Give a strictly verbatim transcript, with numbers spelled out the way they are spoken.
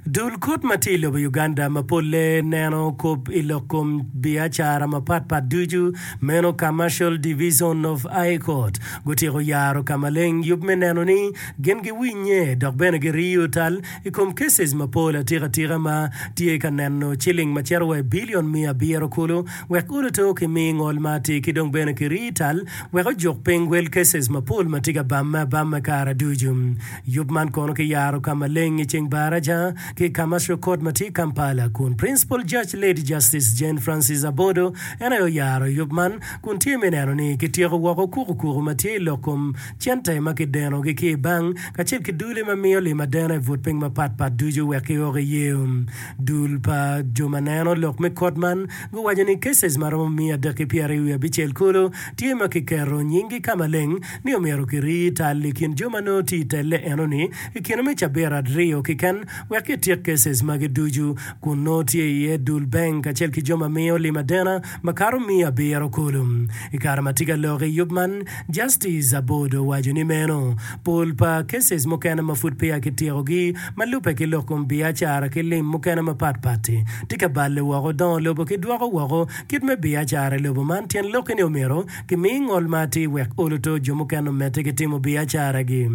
Dul kot ma tye i lobo Uganda ma polle neno kop i lok kom biacara mapatpat ducu meno Commercial Division of High Court gutyeko yaro ka maleng yub me neno ni gin giwinye dok bene giriyo tal i kom cases mapol atika atika ma tye ka neno ciling ma cito wa i bilion miya abiro kulu wek oloto ki mi ngol ma atir ki dong bene kiri tal wek ojuk piny wel cases mapol ma tye ka bamme abamma kare ducu. Yub man kono kiyaro ka maleng i ceng baraja ki Commercial Court ma tye i Kampala kun Principal Judge Lady Justice Jane Francis Abodo en aye oyaro yub man kun tye me neno ni kityeko woko kukukuku ma tye i lok kom cente ma kidenogi ki i bank kacel ki dule ma miyo lim adena i but piny mapatpat ducu wek kiok iye. Dul pa jo ma neno lok me kot man guwaco ni cases ma romo miya adek ki pyeraryo wiye abicel kulu tye ma kiketo nyinggi ka maleng ni omyero kirii tal i kin jo ma nongo tye i telle enoni i kine me cabit aryo keken wek kityek cases magi ducu kun nongo tye iye dul bank kacel ki jo ma miyo lim adena makato miya abiro kulu. I kare ma tye ka lok i yub man, Justice Abodo owaco ni meno pol pa cases mukene ma pud peya kityekogi ma lubbe ki lok kom biacara ki lim mukene mapatpat-ti tye ka balle woko dongo lobo ki dwoko woko kit me biacara i lobo man tyen lokke ni omyero kimi ngol ma atir wek oloto jo mukene omedde ki timo biacaragi.